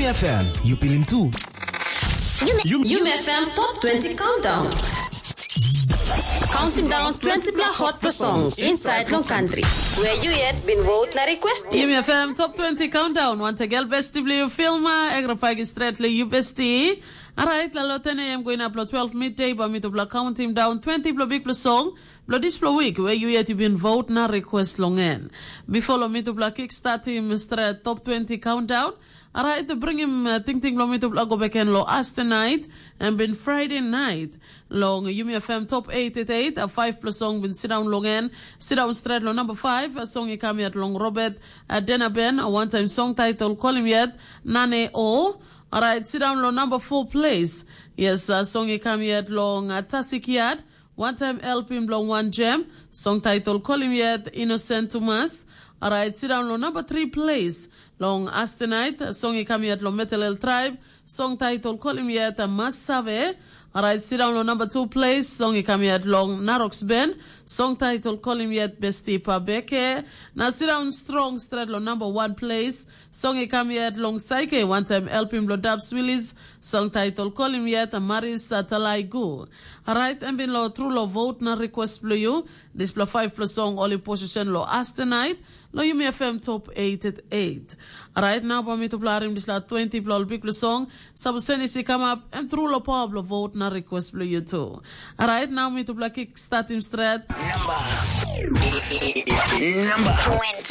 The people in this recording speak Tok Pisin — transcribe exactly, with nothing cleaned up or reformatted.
F M, you pilim tu. Yumi F M Top twenty Countdown. Counting down twenty pla hot pla songs inside long country. Where you yet been vote na request. Yumi F M Top twenty Countdown. Once again, besti bli you filma, egra pagi stret le you besti. Alright, la lo ten a m going up lo twelve midday, ba mi tupla counting down twenty pla big pla song. Blo dispela wik we yu yet i bin vot na request long en. Before lo mitupela kick startim stret top twenty countdown, alright, bringim uh, tingting lo mitupela go beken lo Aste night and bin Friday night. Long Yumi F M top eight eight eight, a five plus song bin sit down long en, sit down stret lo number five, a song i kam yet long Robert uh, Denaben, a one time song title Call Him Yet, Nane O. Alright, sit down lo number four place. Yes, a song i kam yet long uh, Tasik Yard. One time helpim bilong wan gem, song title Kolim Yet, Innocent Tumas. Alright, sit down long number three place. Long Astenite, song i kam yet long Metalel Tribe, song title Kolim Yet, Mas Save. Alright, sit down long number two place, song i kam yet long Narox Ben, song title Kolim Yet, Besti Pabeke. Na sit down strong straight long number one place, song i kam yet long Saike, one time helpim lo Dab Swilis, song title Kolim Yet, Maris Talaigu. Alright, em bin lo tru lo vote na request bilong you. Dispela five plus song all in position lo Astenite, lo Yumi F M top eight at eight. Alright, now ba mi to plarim dispela twenty pla all big plus song. Sabu seni si come up, em tru lo power lo vote na request bilong you too. Alright, now mi to pla kick start him straight. Number twenty.